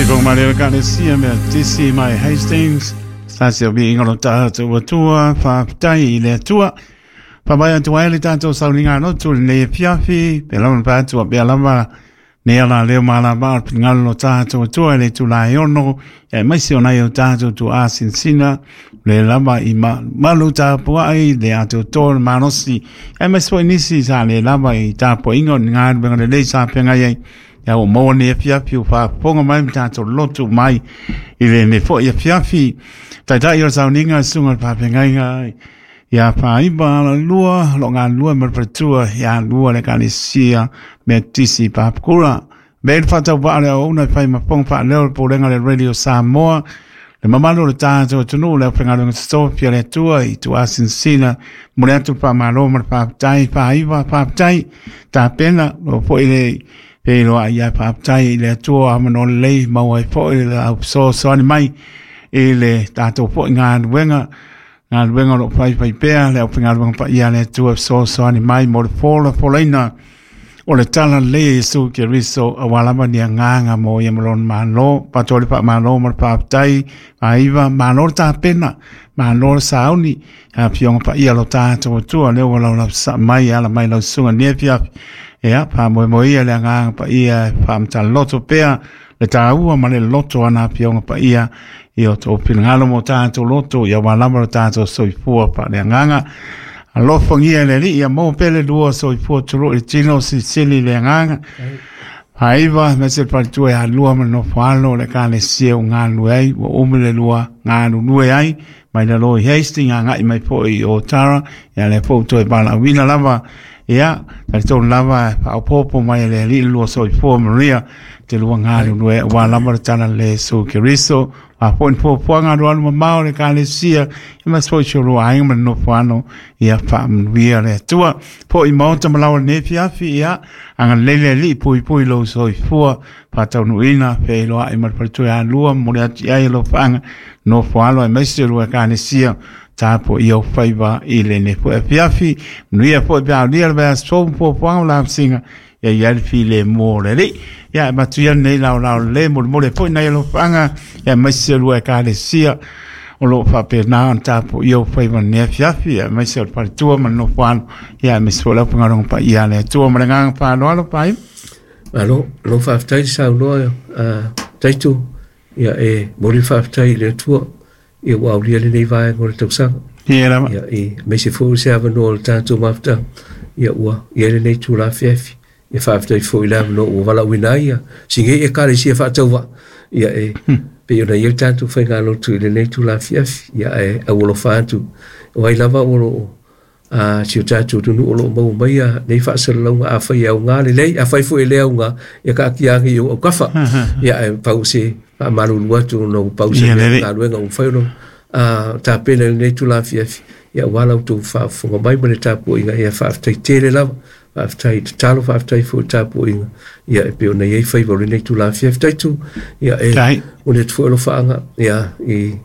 Faafofoga mai le Ekalesia Metotisi mai Hastings, se tasi o viiga o lo tatou Atua, faafetai i le Atua. Faavae atu ai le tatou sauniga lotu i lenei afiafi, pe lava na fai atu pea lava nei ala leo ma ala vaa o le finagalo o lo tatou Atua i le itula e 6, aemaise o nai o tatou tuaa sinasina, le lava i malu tapuai, le atoatoa o le malosi, aemaise foi nisi sa le lava i tapuaiga o ni galuega lelei sa feagai ai. Ia ua maua nei afiafi ua faafofoga mai ma tatou lotu mai i lenei foi afiafi. Taitai o le sauniga le susuga i le faafeagaiga ia Faaiva Alalua, o lo o galulue ma le faletua ia Lua le Ekalesia Metotisi Papakura. Avea le faatauvaa le auauna e fai ma fofoga faaleo le Pulega o le Radio Samoa, le mamalu o le tatou atunuu, le aufaigaluega totofi a le Atua i tuasinasina, momoli atu le faamalo ma le faafetai. Faaiva, faafetai tapena lo foi le feiloai ia faafetai i le Atua avanoa lelei maua ai foi le au fesoasoani mai i le tatou foi galuega o lo o faifai pea le aufaigaluega paia a le Atua fesoasoani mai mo le folafolaina o le tala lelei a Iesu Keriso aua lava ni agaga mo ia ma lona Malo. Faatoa le faamalo ma le faafetai. Faaiva, malo le tapena, malo le sauni, afioga paia lo tatou Atua lea ua laulausasaa mai e ala mai lau susuga i lenei afiafi. Ia, faamoemoe ia le agaga paia e faamataloto pea le taua ma le loto a na afioga paia i o tou finagalo mo tatou loto ia aua lava lo tatou soifua faaleagaga. Alofagia e le Alii ia maua pea le lua soifua tulou i le tino silisili le agaga. Faaiva, aemaise le faletua ia Lua ma le nofo alo o le Ekalesia ua galulue ai, ua umi le lua galulue ai, mai lalo i Hastings, agai mai foi i Otara, ia lea foi ua toe valaauina lava, ia, talitonu lava e faaopoopo mai e le Alii le lua soifua manuia, te lua galulue aua lava le tala le Iesu Keriso. A foi ni fuafuaga alualu mamao o le Ekalesia, ia ma foi si o lua aiga ma le nofo alo, ia faamanuia le Atua. Foi i maota ma laoa i lenei afiafi, ia, agalelei le Alii puipui lou soifua, faataunuuina, feiloai ma le faletua ia Lua, momoli atu i ai alofaaga, nofo alo aemaise o lua Ekalesia, tapuaia o faiva i lenei foi afiafi. Manuia foi pe a aulia le vaiaso fou ma fuafuaga o lavasiga, ia i ai le filemu o le Alii. Ia, e avatu ia lenei laolao lelei, molimoli ai foi nai alofaaga, ia aemaise o lua Ekalesia, o lo o faapena ona tapuaia o faiva i lenei afiafi, ia aemaise o le faletua ma le nofo alo, ia aemaise foi le aufaigaluega paia a le Atua. Ma le agaga faaaloalo, Paia. Malo, malo faafetai le saunoa Taito, ia e momoli le faafetai i le Atua, ia ua aulia lenei vaega o le tausaga. Ia lava. Ia e aemaise foi o se avanoa o le tatou mafutaga, ia ua i ai lenei itula afiafi. Ia faafetai foi i le avanoa ua valaauina ai ia si nei Ekalesia faatauvaa, ia e pei ona i ai le tatou faigalotu i lenei itula afiafi. Ia ae aualofa atu, o ai lava o lo o si o tatou atunuu o lo o maua mai ia nei faasalalauga, afai e aoga lelei, afai foi e le aoga, ia taatia ane i ou aukafa. Ia ae pau se faamalulu atu ona ua pau se mea galuega ua mafai ona tapena i lenei itula afiafi, ia aua la outou faafofoga mai ma le tapuaiga. Ia faafetai tele lava, faafetai i tatalo, faafetai foi i le tapuaiga, ia e pei ona i ai faiva o lenei itula afiafi. Taitu, ia e momoli atu foi alofaaga ia i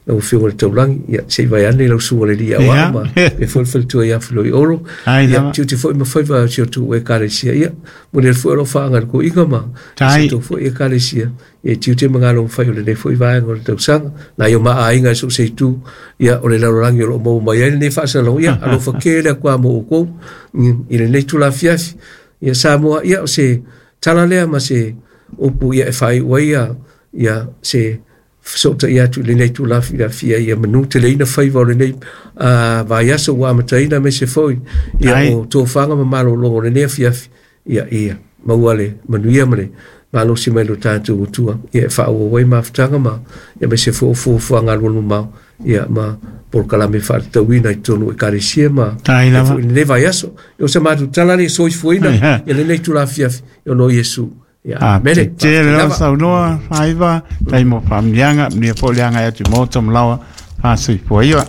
lau Afioga i le Taulagi, ia se i vae ane lau susuga i le alii aoao ma e foi le faletua ia Filoi Olo. Ia tiute foi ma faiva o si o tou Ekalesia, ia momoli atu foi alofaaga i le toeaina ma si o tou foi Ekalesia, ia tiute ma galuega fai o lenei foi vaega o le tausaga. Nai o ma aiga i so o se itu, ia o le lalolagi o lo o maua mai ai lenei faasalalauga, ia alofa tele atu lava mo outou i lenei itula afiafi. Ia Samoa, ia o se tala lea ma se upu ia e faaiu ai ia se fesootai atu i lenei itula afiafi, ia manuteleina faiva o lenei vaiaso ua amataina, aemaise foi ia o tofaga ma malologa o lenei afiafi, ia ia maua le manuia ma le malosi mai lo tatou Atua, ia e faaauau ai mafutaga ma ia aemaise foi o fuafuaga alualu mamao, ia ma polokalame faatatauina i totonu o Ekalesia ma foi lenei vaiaso. O se matou tala le soifuaina ia lenei itula afiafi ona o Iesu. Ia, mele. Tele lava saunoa, Faaiva, tai mo faamanuiaga, manuia foi le agai atu i maota ma laoa, faasoifua ia.